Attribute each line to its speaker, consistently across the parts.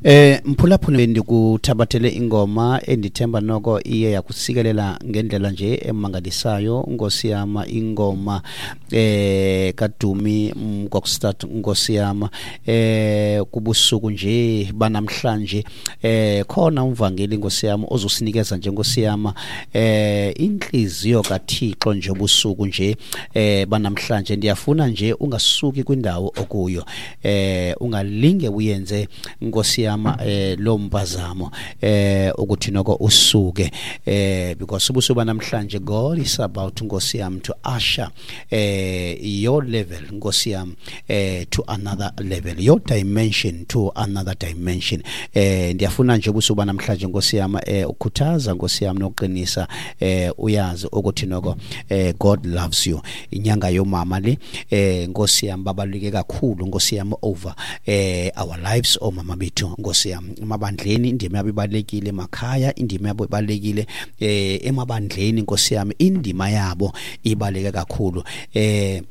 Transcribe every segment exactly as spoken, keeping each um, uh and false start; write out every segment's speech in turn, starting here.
Speaker 1: Eh mphulaphuli, ndikuthabathele ingoma endithemba noko iye yakusikelela ngendlela nje emangalisayo, Nkosi yam, ingoma eh kaDumi Mkokstad, Nkosi yam. eh kubusuku nje banamhlanje eh khona umvangeli, Nkosi yam, ozosinikeza nje, Nkosi yam, eh inhliziyo kaThixo nje ubusuku nje eh banamhlanje. Ndiyafuna nje ungasuki kwindawo okuyo, eh ungalinge uyenze, Nkosi yam, eh lo mpazamo eh ukuthi noko usuke, eh because ubusuku banamhlanje God is about, Nkosi yam, to usher eh your level, Nkosi yam, eh to another level, your dimension to another dimension. eh ndiyafuna nje ubusuku banamhlanje, Nkosi yam, eh ukhuthaza, Nkosi yam, nokuqinisa, eh uyazi ukuthi noko eh God loves you. Inyanga yomama le, eh Nkosi yam, babaluleke kakhulu, Nkosi yam, over eh our lives omama bethu, Nkosi yam. Emabandleni indima yabo ibalulekile, emakhaya indima yabo ibalulekile, eh emabandleni, Nkosi yam, indima yabo ibaluleke kakhulu. eh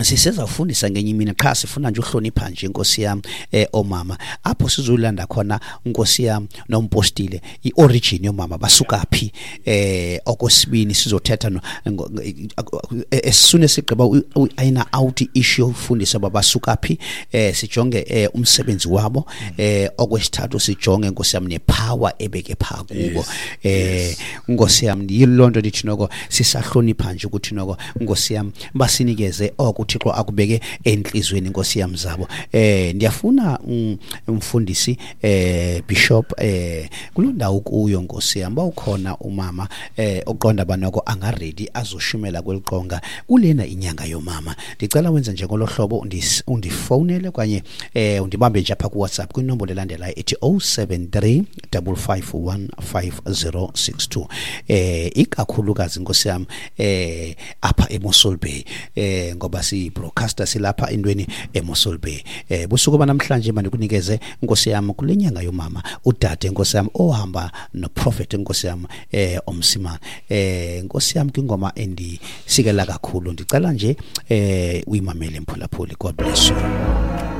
Speaker 1: sisezawufundisa ngenye imini, qha sifuna nje uhlonipha nje, Nkosi yam, eh omama, apho sizolanda khona, Nkosi yam, nompostile iorigin yomama, basuka phi. eh okwesibini sizothetha no as soon as sigqiba ayina out issue yofundisa basuka phi, eh sijonge eh umsebenzi wabo. eh okwesithathu sijonge, Nkosi yam, nepower ebeke pha kubo, eh Nkosi yam. Yilonto ndithi noko sisahlonipha nje ukuthi noko, Nkosi yam, basinikeze oko uThixo akubeke enhlizweni, Nkosi yam, zabo. eh ndiyafuna umfundisi, eh bishop, eh kulondawo kuyo, Nkosi yam, bawukhona umama eh oqonda banoko anga ready azoshumela kweliqonga kulena inyanga yomama, ndicela wenze nje ngolohlobo, undifonele okanye eh undibambe nje apha ku WhatsApp kwinombolo elandelayo ethi oh seven three double five one five zero six two. eh ikakhulukazi, Nkosi yam, eh apha eMossel Bay, eh ngoba si broadcaster silapha entweni eMossel Bay. eh busuku banamhlanje mandikunikeze, Nkosi yam, kule nyanga yomama, udade, Nkosi yam, ohamba no prophet, Nkosi yam, eh omsimana, eh Nkosi yam, kwingoma endisikela kakhulu. Ndicela nje eh uyimamele, mphulaphuli. God bless you.